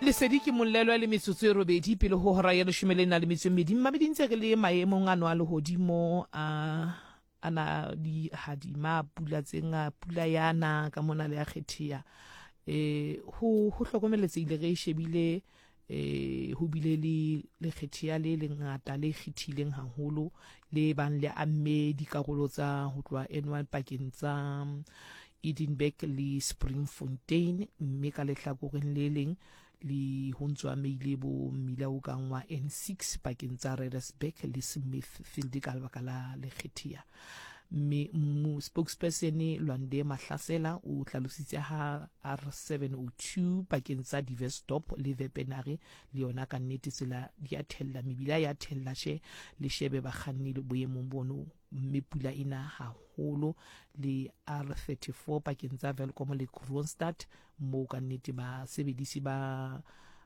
Lesedi ke mollelwa le metsotso e robedi pele ho hora ya leshome le na le metso e mmedi. Mmamedi ntse re le maemong ano a lehodimo a ana di hadima pula tse nga pula ya na ka mona le ya kgetheya. Eh ho hlokomeletsehile re shebile eh ho bile le lekgetheya le lengata le kgethileng haholo le bang le amme dikarolo tsa ho tloha N1 pakeng tsa Edinburgh le Springfontein, mme ka lehlakoreng le leng le ho ntso ameile bo mmila o kang wa N6 pakeng tsa Reddersburg le Smithfield ka lebaka la lekgethea. Mme spokesperson Lwande Mahlasela o hlalositse ha R702 pakeng tsa Diversdorp le Wepener le yona ka nnete tsela di a thella, mebila ya thella she le shebe bakganni le boemong bono mme pula e na haholo le R34 pakeng tsa Welkom le Kroonstad moo ka nnete basebedisi ba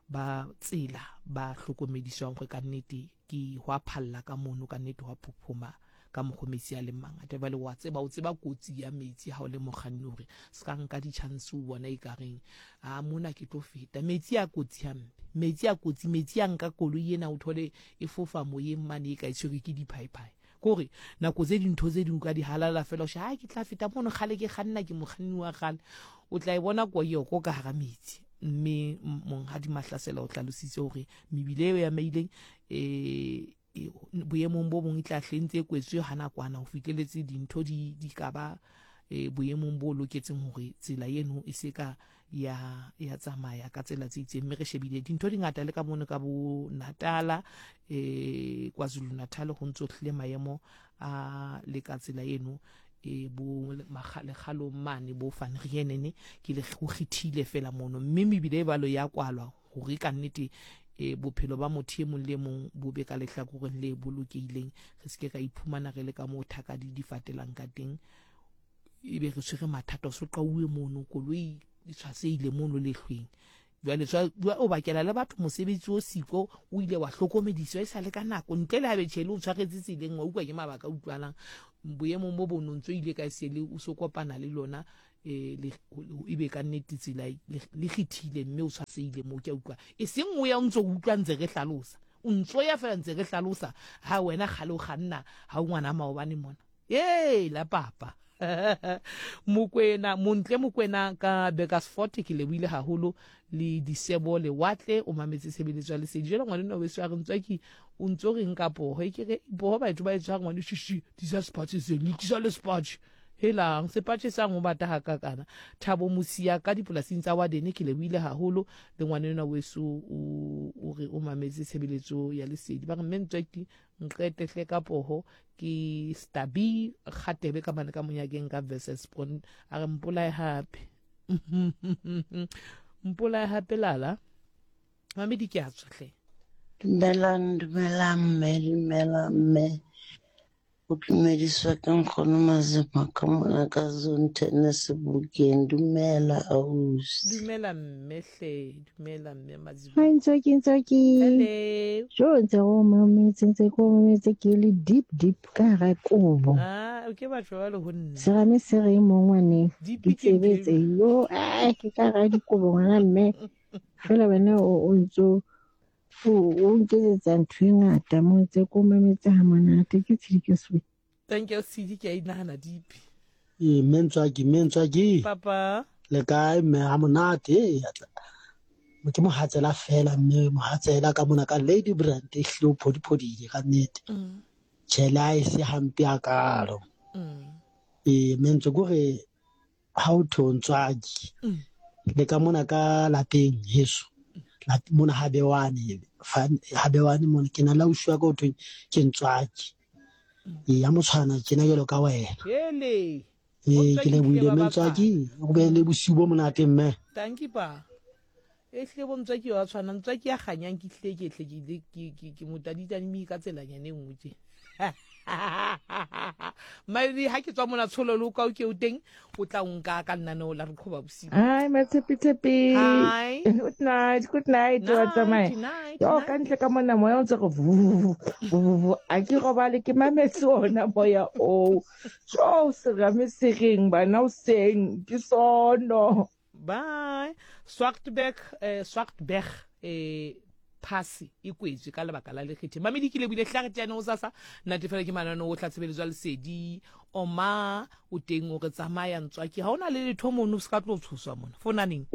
ba tsela ba hlokomediswang gore ka nnete ke hwa phalla ka mono ka nnete hwa phophoma ka mokgo metsi a leng mangata. Jwale wa tseba, o tseba kotsi ya metsi ha o le mokganni hore se ka nka di-chance o bona e ka reng a mona ke tlo feta. Metsi a kotsi hampe, metsi a kotsi, metsi a nka koloi ena o thole e fofa moyeng mane e ka e tshwerwe ke diphaephae. Kore nako tse dintho tse ding o ka di halala fela o she ha ke tla feta mono kgale ke kganna ke mokganni wa kgale o tla e bona koyoko ka hara metsi. Mme monghadi Mahlasela o hlalositse hore mebile eo ya maileng boemong bo bong e tla hle ntse e kwetswe ha nakwana ho fihleletse dintho di di ka ba boemong bo loketseng hore tsela eno e se ka ya ya tsamaya ka tsela tse itseng. Mme re shebile dintho di ngata le ka mono ka bo Natala KwaZulu Natal ho ntso hlile maemo a le ka tsela eno bo lekgalong mane bo Van Reenene ke le go kgethile fela mono mme mebile e balo ya kwalwa hore ka nnete bophelo ba motho e mong le mong bo be ka lehlakoreng le bolokehileng re se ke ra iphumana re le ka moo thaka di di fatelang ka teng ebe re tshwere mathata o so qauwe mono koloi e tshwasehile mono lehlweng jwale o bakela le batho mosebetsi o siko o ile wa hlokomediswa e sa le ka nako ntle le habe tjhele o tshwaretse tseleng wa utlwa ke mabaka a utlwalang boemong bo bono ntso ile ka sele o so kopana le lona e be ka nnete tsela le kgethile mme o tshwasehile moo ke a utlwa e seng o ya o ntso utlwa ntse re hlalosa o ntso ya fela ntse re hlalosa ha wena kgale o kganna ha o ngwana maobane mona ee la papa Mokwena Montle Mokwena ka Burgersfort ke lebohile haholo le Disebo Lewatle o mametse tshebeletso ya lesedi jwale ngwanenwa weso a re ntswaki o ntso reng ka poho e ke re poho batho ba e tshwara ngwane shishi tlisa sepatšhe se le tlisa le sepatšhe helang sepatšhe sang o bata hakakana Thabo Mosia ka dipolasing tsa Wadene ke lebohile haholo le ngwanenwa weso o re o mametse tshebeletso ya lesedi ba re mme ntswaki nqete hle ka poho ke stabi kgatebe ka mane ka monyakeng ka versus bon a re mpolae hape mpolae hape lala mamedi ke a tswa hle. Dumelang, dumelang mme, dumelang mme. O dumediswa ke nkgono Mazima ka mona ka zone ten Sebokeng. Dumela ausi. Dumela mme hle, dumela mme Mazima. Hi Ntswaki, Ntswaki. Hello. Jo ntse go mametse, ntse go mametse ke le deep deep ka hara kobo. Ah, o ke batho ba le ho nna. Serame se reng mo ngwaneng. Deep ke ntho Ditsebe tse yo, ai ke ka hara dikobo ngwana mme. Fela wena o ntso o nketsetsa ntho e ngata mo ntse ko mametse ha monate ke tshedi ke swe. Thank you Tshedi ke a inahana dipi. Ee, mme Ntswaki, mme Ntswaki. Papa. Le kae mme ha monate ee atla. Ke mohatsela fela mme mohatsela ka mona ka Lady Brand e hlile o phodiphodile ka nnete. Tjhe le ha e se hampe hakalo. Ee mme Ntswaki kore ha o thwe o ntswaki le ka mona ka lapeng heso mona ha bewane ha bewane mona ke na le ausi wa ka o thweng ke ntswaki ee ya motshwana tjena jwalo ka wena ee ke lebohile mme ntswaki o be le bosiu bo monate mme thank you pa e hlile bo ntswaki wa tshwana ntswaki ya kganyang ke hlile ke hle ke ile ke ke motaditane ka tselanyana e nngwe tje maedi ha ke tswa mona tsholo le o ka o ke o teng o tla o nka ka lenaneo la re qhoba bosiu. Hi Matshepi-tshepi. Hi. Good night, good night. Wa tsamaya. Night, Yo night. ka ntle ka mona moya o ntse go vu vu vu. A ke robale ke mametse ona moya oo. Jo serame se reng bana o seng ke sono. Bye. Swartberg, Swartberg. um phase e kwetswe ka lebaka la lekgethe. Mamedi ke lebile hlare tjane o sasa natefela ke mananeo o tla tshebeletso ya lesedi oma o teng o re tsamaya ntswaki ha o na le letho mono se ka tlo tshoswa mona fonaneng.